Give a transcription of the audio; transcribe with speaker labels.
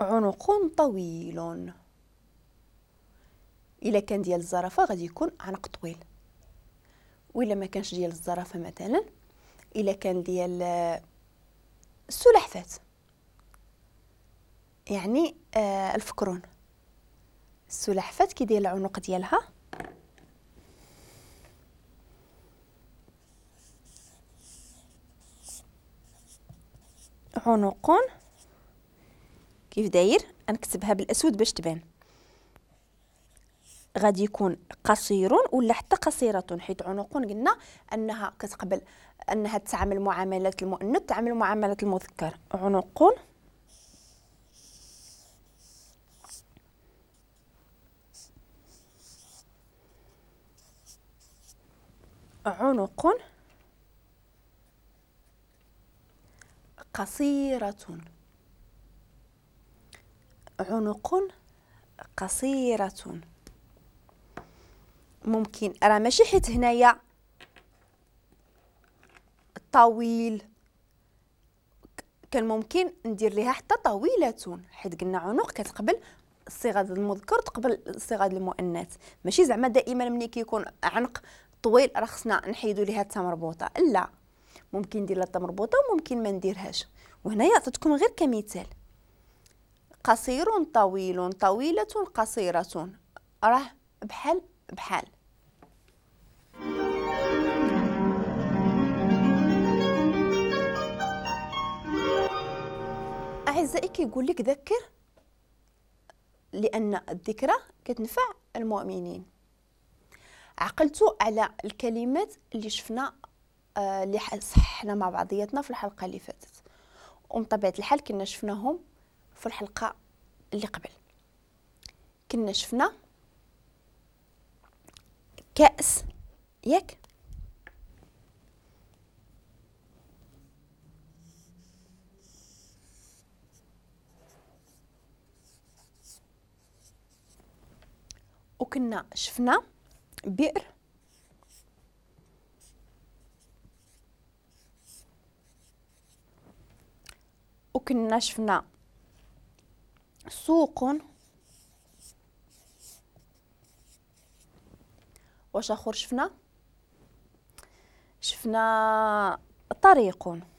Speaker 1: عنق طويل. الا كان ديال الزرافه غادي يكون عنق طويل، وإلا ما كانش ديال الزرافه مثلا الا كان ديال السلحفات يعني الفكرون، السلحفات كي داير العنق ديالها عنق كيف داير، نكتبها بالاسود باش تبان، غادي يكون قصير ولا حتى قصيرة، حيت عنق قلنا انها كتقبل انها تعامل معاملة المؤنث تعامل معاملة المذكر. عنق عنق قصيرة، عنق قصيرة. ممكن راه ماشي حيت هنايا طويل كان ممكن ندير ليها حتى طويلة، حيت قلنا عنق كتقبل الصيغة ديال المذكر تقبل الصيغة ديال المؤنث، ماشي زعما دائما ملي كيكون عنق طويل راه خصنا نحيدو ليها التا مربوطة، لا ممكن ندير لها التا مربوطة وممكن ما نديرهاش. وهنايا عطيتكم غير كمثال، قصير طويل طويلة قصيرة، راه بحال بحال. أعزائي كيقول لك ذكر، لأن الذكرى كتنفع المؤمنين. عقلتوا على الكلمات اللي شفنا اللي صححنا مع بعضياتنا في الحلقة اللي فاتت، ومن طبيعة الحال كنا شفناهم في الحلقة اللي قبل. كنا شفنا كأس، ياك؟ وكنا شفنا بئر، وكنا شفنا سوق، واش اخر شفنا؟ شفنا طريق.